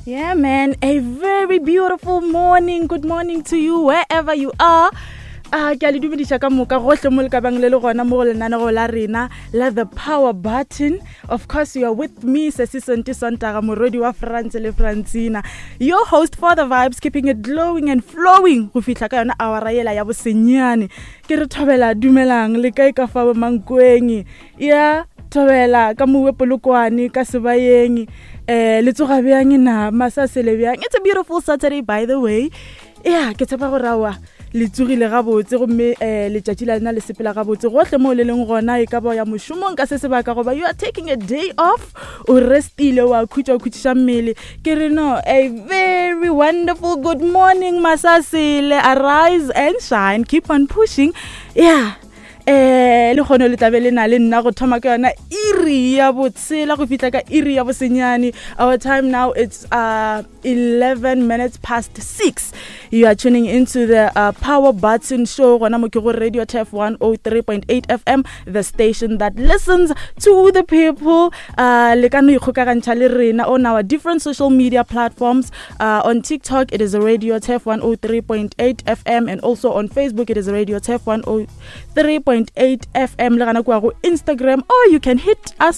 Yeah, man, a very beautiful morning. Good morning to you wherever you are. A ke a le dumediša ka moka gohle mo le ka bang le le gona mo go lenanego la rena la The Power Button. Of course, you are with me, Sesi Sonti Sontaga, morwedi wa France le Francina, your host for the vibes, keeping it glowing and flowing go fihla ka yona awara yela ya bosenyane. Ke re thobela, dumelang, le kae ka fa Mankweng? Ya thobela ka mowe Polokwane ka sebayeng, le tsoga bjang na masasele bjang? It's a beautiful Saturday, by the way. Ya ke tshepa gore aowa le tsogile gabotse gomme letšatši la lena le sepela gabotse gohle moo le leng gona, e ka ba ya mošomong ka se sebaka goba you are taking a day off, o restile, wa khutša, o khutšiša mmele. Ke re no, a very wonderful good morning, masasele. Arise and shine, keep on pushing. Yeah, le kgone le tlabe le na le nna go thoma ka yona iri ya botshela go fihla ka iri ya bosenyane. Our time now, it's 11 minutes past 6. You are tuning into the Power Button Show gona mo ke go Radio Tef 103.8 FM, the station that listens to the people. Le ka no ikgokagantšha le rena on our different social media platforms. On TikTok it is Radio Tef 103.8 FM, and also on Facebook it is Radio Tef 103.8 FM, le gana kua go Instagram, or you can hit us